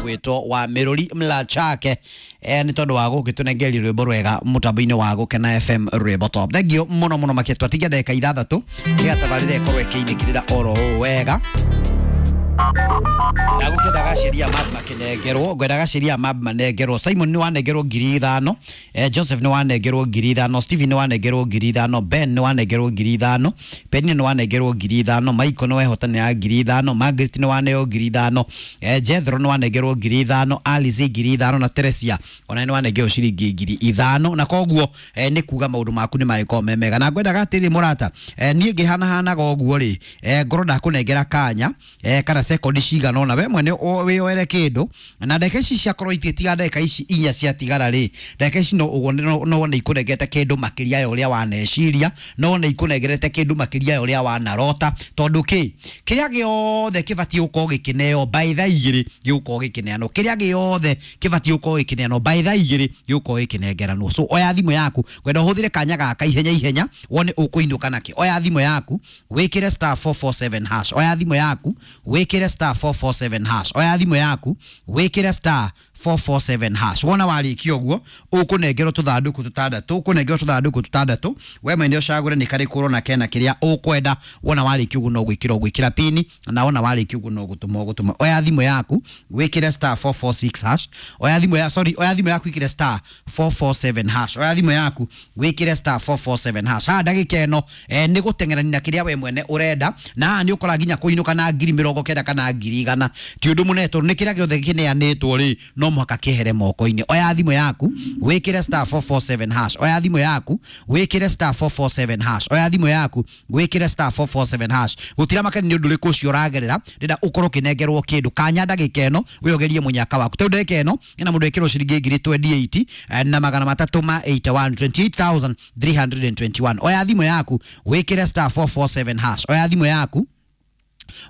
Ũgwĩtwo wa Mĩrũri Mlachake nĩ tondũ wa gũgĩtũnengeria rwĩmbo rwega mũtambo-inĩ wa Gũkena FM rwĩmbo top. Thank you mũno mũno makĩria. Twatigia ndagĩka 6 nĩgetha tabarĩra ĩkorwo ĩkĩinĩkĩrĩra oro ũũ wega. Ndagũkĩendaga ciria mab makĩnengerwo, ngwendaga ciria mab manengerwo. Simon nĩ wanengerwo 5,000, Joseph nĩ wanengerwo 5,000, Stephen nĩ wanengerwo 5,000, Ben nĩ wanengerwo 5,000, Penina nĩ wanengerwo 5,000, Michael nĩ wehotanĩra 5,000, Margaret nĩ waneo 5,000, Jethro nĩ wanengerwo 5,000, Alice 5,000 na Teresia ona nĩ wanengerwo ciringi 5,000. Na koguo nĩ kuga maũndũ maku nĩ magĩkorwo me mega. Na ngwendaga atĩrĩ mũrata, niĩ ngĩhanahanaga ũguo rĩ, ngorwo ndakũnengera kanya kana sekondi cigana ũna we mwene wĩyoere kĩndũ. Na ndagĩka ici ciakorwo igĩtiga ndagĩka ici 4 ciatigara rĩ, ndagĩka ici no ũguo no wone ikũnengete kĩndũ makĩria ya ũrĩa waneciria, no wone ikũnengerete kĩndũ makĩria ya ũrĩa wanarota. Tondũ kĩ kĩrĩa gĩothe kĩbatiĩ gũkorwo gĩkĩneo by thaa 2 gĩgũkorwo gĩkĩneanwo, kĩrĩa gĩothe kĩbatiĩ gũkorwo gĩkĩneanwo by thaa 2 gĩgũkorwo gĩkĩnengeranwo. So oya thimũ yaku, ngwenda ũhũthĩre kanya gaka ihenya ihenya wone ũkũinũka nakĩ. Oya thimũ yaku wĩkĩre star 447 hash. Oya thimũ yaku wĩkĩre star 447 hash. Oya thimũ yaku wĩkĩre star 447 hash. Wona warĩkia ũguo ũkũnengerwo tũthandũkũ tũtandatũ, ũkũnengerwo tũthandũkũ tũtandatũ, we mwene ũcagũre nĩ karĩkũ ũrona kena kĩrĩa ũkwenda. Wona warĩkia ũguo no gwĩkĩra ũgwĩkĩra pini, na wona warĩkia ũguo no gũtũma ũgũtũma. Oya thimũ yaku wĩkĩre star 446 hash. Oya thimũ ya sorry, oya thimũ yaku wĩkĩre star 447 hash. Oya thimũ yaku wĩkĩre star 447 hash. Haha ndagĩka ĩno nĩ gũteng'erania na kĩrĩa we mwene ũrenda, na haha nĩ ũkora nginya kũinũka na 90,000 kana 100,000. Ti ũndũ mũnene tondũ nĩ kĩrĩa gĩothe kĩneanĩtwo rĩ, no mũhaka kĩehere moko-inĩ. Oya thimũ yaku wĩkĩre star 447 hash. Oya thimũ yaku wĩkĩre star 447 hash. Oya thimũ yaku wĩkĩre star 447 hash. Gũtira makeni nĩ ũndũ ũrĩkũ ũcio ũragerera, ndĩrenda ũkorwo ũkĩnengerwo kĩndũ kanya ndagĩka ĩno wĩogerie mũnyaka waku. Tondũ ndagĩka ĩno ĩna mũndũ wĩkĩrwo ciringi 28,381 na 28,321. Oya thimũ yaku wĩkĩre star 447 hash. Oya thimũ yaku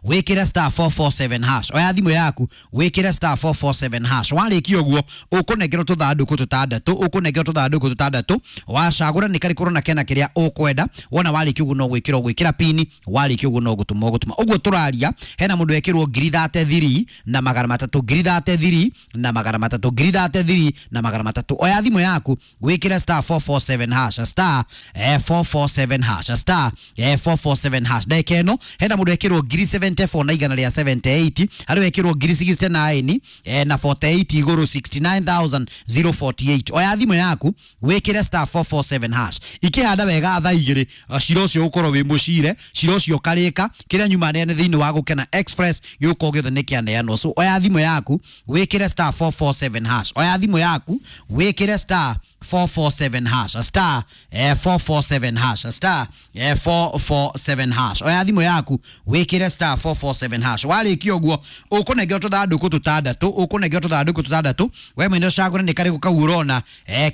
wĩkĩre star 447 hash. Oya thimũ yaku wĩkĩre star 447 hash. Warĩkia ũguo ũkũnengerwo tũthandũkũ tũtandatũ, ũkũnengerwo tũthandũkũ tũtandatũ, wacagũra nĩ karĩkũ ũrona kena kĩrĩa ũkwenda. Wona warĩkia ũguo no gwĩkĩra ũgwĩkĩra pini, warĩkia ũguo no gũtũma ũgũtũma. Ũguo tũraria hena mũndũ wekĩrwo 33,300, 33,300, 33,300. Oya thimũ yaku wĩkĩre star 447 hash, star 447 hash, star 447 hash. Ndagĩka ĩno hena mũndũ wekĩrwo 74 na igana rĩa 78, harĩ wekĩrwo 69 na 48 igũrũ 69,048. Oya thimũ yaku wĩkĩre star 447 hash. Ikĩhanda wega thaa 2 cira ũcio ũkorwo wĩ mũcire, cira ũcio ũkarĩka, kĩrĩa nyuma neane thĩinĩ wa Gũkena Express gĩgũkorwo gĩothe nĩ kĩaneanwo. So oya thimũ yaku wĩkĩre star 447 hash. Oya thimũ yaku wĩkĩre star 447 hash, star 447 hash, star 447 hash. Oya thimũ yaku wĩkĩre star 447 hash. Warĩkia ũguo ũkũnengerwo tũthandũkũ tũtandatũ, ũkũnengerwo tũthandũkũ tũtandatũ, we mwene ũcagũre nĩ karĩkũ kau ũrona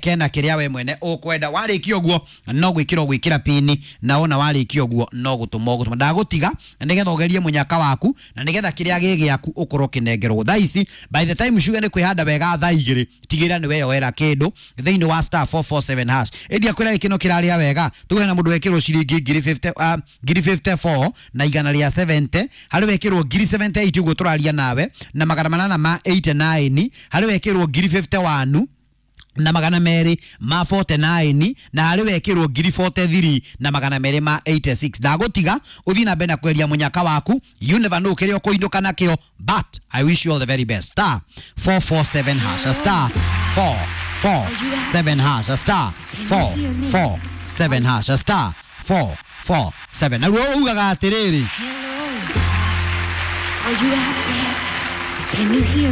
kena kĩrĩa we mwene ũkwenda. Warĩkia ũguo no gwĩkĩra ũgwĩkĩra pini, na wona warĩkia ũguo no gũtũma ũgũtũma. Ndagũtiga nĩgetha ũgerie mũnyaka waku na nĩgetha kĩrĩa gĩ gĩaku ũkorwo ũkĩnengerwo thaa ici. By the time ciuge nĩ kwĩhanda wega thaa 2, tigĩrĩra nĩ weyoera kĩndũ thĩinĩ wa star 447 hash. Ĩndia kwĩra gĩkĩno kĩrarĩa wega, tuge na mũndũ wekĩrwo ciringi 54 na igana rĩa 70, harĩ wekĩrwo 78 ũguo tũraria nawe na 889, harĩ wekĩrwo 51 na 249, na harĩ wekĩrwo 43 na 286. Ndagũtiga ũthiĩ na mbere na kweria mũnyaka waku. You never know kĩrĩa ũkũinũka nakĩo, but I wish you all the very best. Star 447 hash, star 447 hash, star 447 hash, star 447. Na ruo ugaga atĩrĩrĩ. Hello. Are you out there? Can you hear